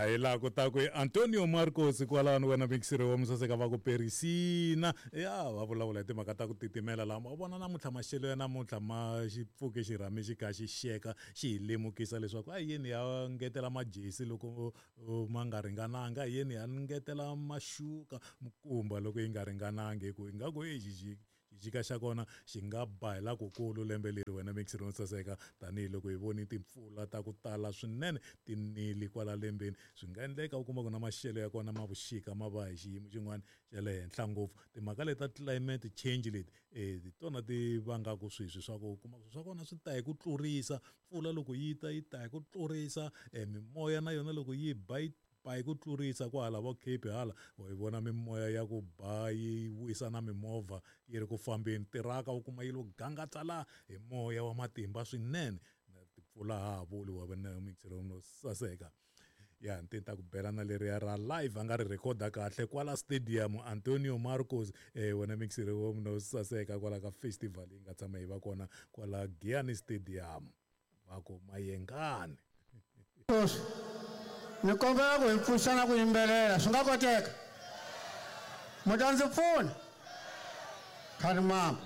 A hi laha ku ta ku Antonio Marcos kwalano wena mixiri wa musaseka va ku perisina ya va vulavula hi timhaka ta ku titimela laha ma vona namuntlha maxelo ya namuntlha ma xi pfuke xirhami xi kha xi xeka xi hi lemukisa leswaku a yini ya ngetela majesi loko ma nga ringananga a yini ya ngetela maxuka mikumba loko yi nga ringanangi hi ku ingaku exi xixika xa kona xi nga ba hi lakukulu lembe leri wena mixiri wo saseka tanihiloko hi voni timpfula ta ku tala swinene ti nile kwala lembeni. Swi nga endleka u kuma ku na maxelo ya kona ma vuxika ma va hi xiyimo xin'wana xa le henhla ngopfu. Timhaka leti ta climate change leti hi tona ti vangaka sweswi swa ku u kuma ku swa kona swi ta hi ku tlurisa, mpfula loko yi ta yi ta hi ku tlurisa, mimoya na yona loko yi ba yi ba hi ku tlurisa kwahala vo Cape hala wa yi vona mimoya ya ku ba yi wisa na mimovha yi ri ku fambeni tiraka u kuma yi lo gangatsa la hi moya wa matimba swinene na timpfula ha ha vuli wa vona mixero no saseka ya ni ta ku bela na leriya ra live a nga ri rhekhoda kahle kwala stadium Antonio Marcos wena mixere wo no saseka kwala ka festival yi nga tshama yi va kona kwala Giyani Stadium. Va ku Mayengani. Sweswi ni kombela ku hi pfuxana ku yimbelela swi nga koteka mi ta ndzi pfuna khani mama.